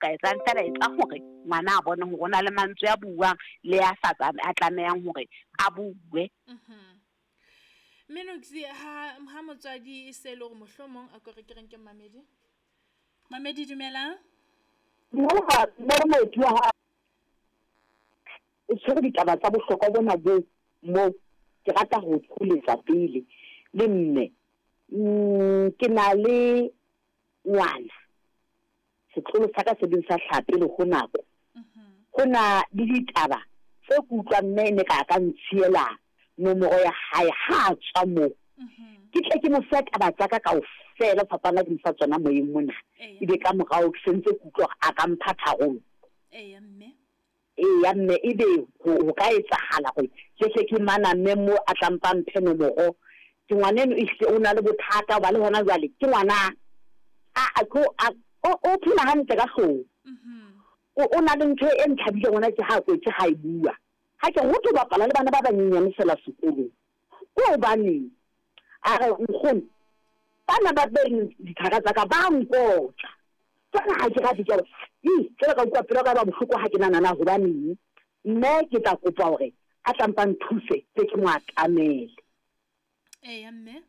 Ka etsang feela etsa hore ngwana a bone hore o na le mantswe a buang le a sa a tlamehang hore a bue. Mme Noksi, ha ha motswadi e se le hore mohlomong a ko re ke reng ke mamedi. Mamedi dumelang. Dumela mme moeti wa hao o tshwere ditaba tsa bohlokwa bona bo mo ke rata ho tholetsa pele le mme ke na le ngwana Setlolo sa ka se beng sa hlaha pele ho nako. Ho na le ditaba tse ke utlwang mme e ne ka a ka ntshiela nomoro ya hae ha a tswa moo. Ke tle ke mo fe taba tsa ka kaofela ho fapana ke mo fa tsona moyeng mona. Ebe ka morao ke sentse ke utlwa hore a ka mpha tharollo. Eya mme ebe ho ho ka etsahala hore ke hle ke maname mo a tla mpa mphe nomoro. Ke ngwaneno ehlile o na le bothata hoba le hona jwale ke ngwana a a tlo a o o phela hantle ka hloohong. O o na le ntho e nthabileng hona tje ha a kwetse ha e bua. Ha ke re ho thwe o bapala le bana ba banyenyane feela sekolong. Ke hobaneng? A re, Nkgono, bana ba beng dithaka tsa ka ba nkotla. Jwale ha ke rate jwalo. Ih, jwale ka utlwa pelo ya ka e ba bohloko ha ke nahana na hobaneng. Mme ke tla kopa hore a tla mpa nthuse tle ke mo atamele. Eya, mme.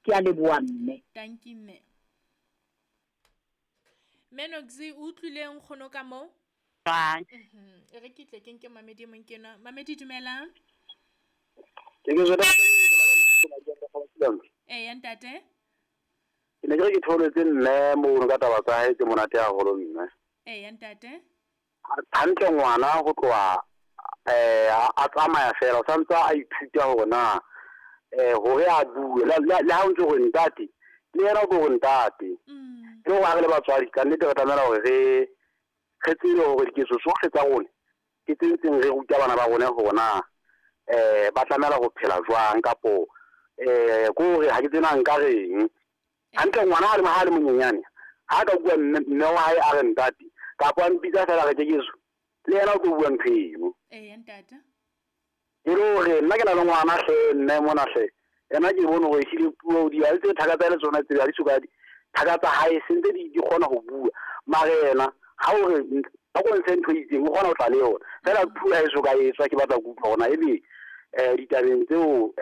Ke a leboha, mme. Tanki, mme. Mme Noksi, o utlwile nkgono ka moo? Jwang? E re ke tle ke nke mamedi e mong ke enwa. Mamedi dumelang. Ke ke jwetsa Eya ntate. Ke ne ke re ke theoletse mme mono ka taba tsa hae tse monate haholo mme. Eya ntate. Hantle ngwana ho tloha a tsamaya fela o santse a ithuta hore na hore a bue le ha o ntse hore ntate le yena o tlo hore ntate. Ke hore ha re le batswadi ka nnete re tlamela hore re re tsebe hore diketso tsohle tsa rona ke tse ntseng re ruta bana ba rona hore na ba tlamela ho phela jwang kapo ke hore ha ke tsebe na nka reng. Hantle ngwana ha le ha le monyenyane ha ka bua mme mme wa hae a re ntate kapo a mpitsa fela re Kekeso le yena o tlo bua ntho eno. Eya ntate. E le hore nna ke na le ngwana hle mme mona hle ena ke bone hore ehlile puo di ha tse thaka tsa le tsona tse ha di soka di thaka tsa hae sentse di di kgona ho bua mare yena ha o re ba ko ntshe ntho e itseng o kgona ho tla le yona fela puo ha e soka e tswa ke batla go utlwa hore na ebe ditabeng tseo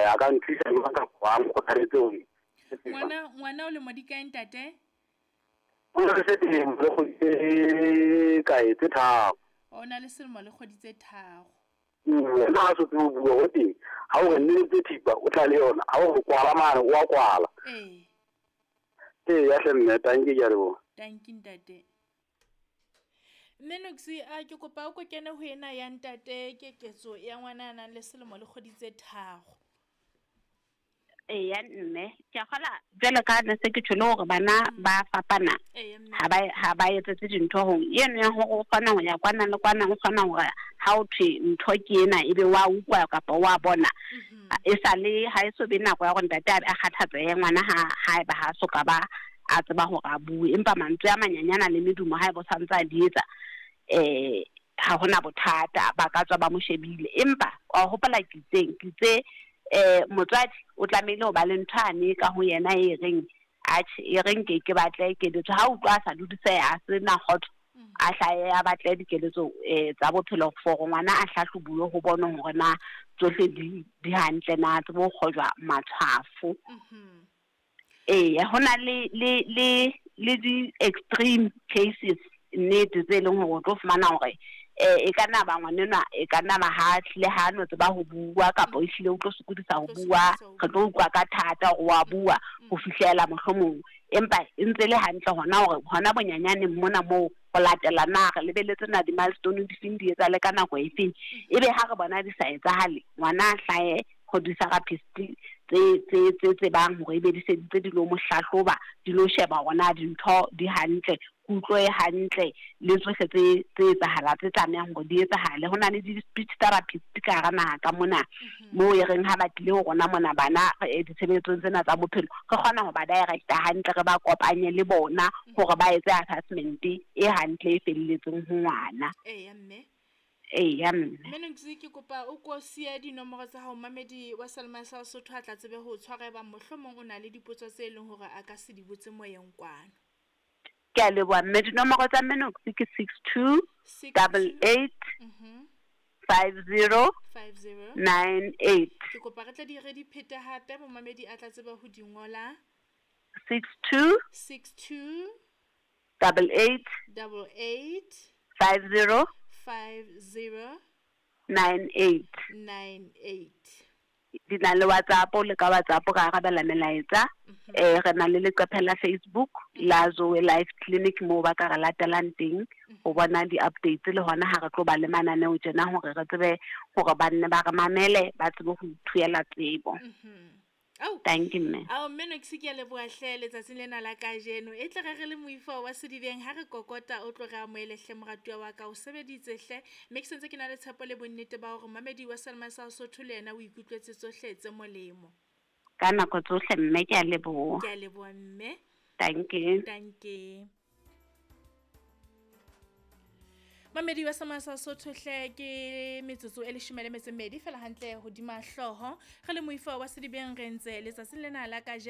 a ka nthusa jwang kapa a nkgothaletse hore Ngwana ngwana o lemo di kae ntate? O na le selemo le kgwedi tse kae tse tharo. O na le selemo le kgwedi tse tharo. Ena ha so tsebe ho bua ho teng ha o re nneletse thipa o tla le yona ha o re kwala mane o a kwala. Ee. Ee ya hle mme tanki ke a leboha. Tanki ntate. Mme Noksi a ke kopa o ko kene ho ena ya ntate keketso ya ngwana a nang le selemo le kgwedi tse tharo. Eya mme ke a kgola jwalo ka ne se ke tjho le hore bana ba fapana ha ba ha ba etsetse dintho hong eno ya hore o kgona ho ya kwana le kwana o kgona hore ha o thwe ntho ke ena ebe wa utlwa kapa wa bona e sa le ha e so be nako ya hore ntate a kgathatsehe ngwana ha haeba ha so ka ba a tseba hore a bue empa mantswe a manyanyana le medumo haeba o santse a di etsa ha hona bothata ba ka tswa ba mo shebile empa wa hopola ke itseng ke itse motswadi o tlamehile ho ba le ntho ane ka ho yena e reng atjhe e reng ke ke batle keletso ha utlwa a sa dudiseha a se na kgotso a hlahe a batle dikeletso tsa bophelo for ngwana a hlahlobuwe ho bonwe hore na tsohle di di hantle na tsebe ho kgojwa matshwafo. Eya ho na le le le le di extreme cases nnete tse leng hore o tlo fumana hore e ka nna ba ngwanenwa e ka nna ba ha hlile ha no tseba ho bua kapa ehlile o tlo sokodisa ho bua re tlo utlwa ka thata hore wa bua ho fihlela mohlomong empa e ntse le hantle hona hore hona bonyanyaneng mona moo ho latela na re lebeletse na di-milestone di feng di etsahale ka nako e feng ebe ha re bona di sa etsahale ngwana a hlahe ho di-therapist tse tse tse tsebang hore ebe di seditse di lo mo hlahloba di lo sheba hore na dintho di hantle kutlo e hantle le tsohle tse tse etsahala tse tlamehang hore di etsahale. Ho na le di-speech therapist ka hara naha ka mona moo e reng ha ba tlile ho rona mona bana ditshebeletsong tsena tsa bophelo re kgona ho ba directa hantle re ba kopanye le bona hore ba etse assessment e hantle e felletseng ho ngwana. Eya mme. Eya mme. Mme Noksi ke kopa o ko siye dinomoro tsa hao mamedi wa Salma sa Sotho a tla tsebe ho tshwara ebang mohlomong o na le dipotso tse leng hore a ka se di botse moyeng kwano. Ke a leboha mme. Dinomoro tsa Mme Noksi ke 62 88 50 98. Ke kopa re tle di re di phete hape, momamedi a tla tseba ho di ngola. 62 62 88 88 50 50 98. 98. Di na le WhatsApp, le ka WhatsApp ra arabela melaetsa. Re na le leqephe la Facebook la Zoe Life Clinic moo ba ka re latelang teng ho bona di-updates le hona ha re tlo ba le mananeo tjena hore re tsebe hore ba nne ba re mamele, ba tsebe ho ithuela tsebo. Ao. Thank you mme. Ao mme Noksi ke a leboha hle letsatsing lena la kajeno. E tle re re le moifo wa sedibeng ha re kokota o tlo re amohele hle moratuwa wa ka, o sebeditse hle. Mme ke sentse ke na le tshepo le bonnete ba hore momamedi wa Selma sa Sotho le yena o ikutlwetse tsohle tse molemo. Ka nako tsohle mme, ke a leboha. Ke a leboha mme. Thank you. Thank you. Mamedi wa Sama sa Sotho hle, ke metsotso e 12 fela hantle hodima hlooho. Re le moifo wa sedibeng re ntse letsatsing lena la kajeno.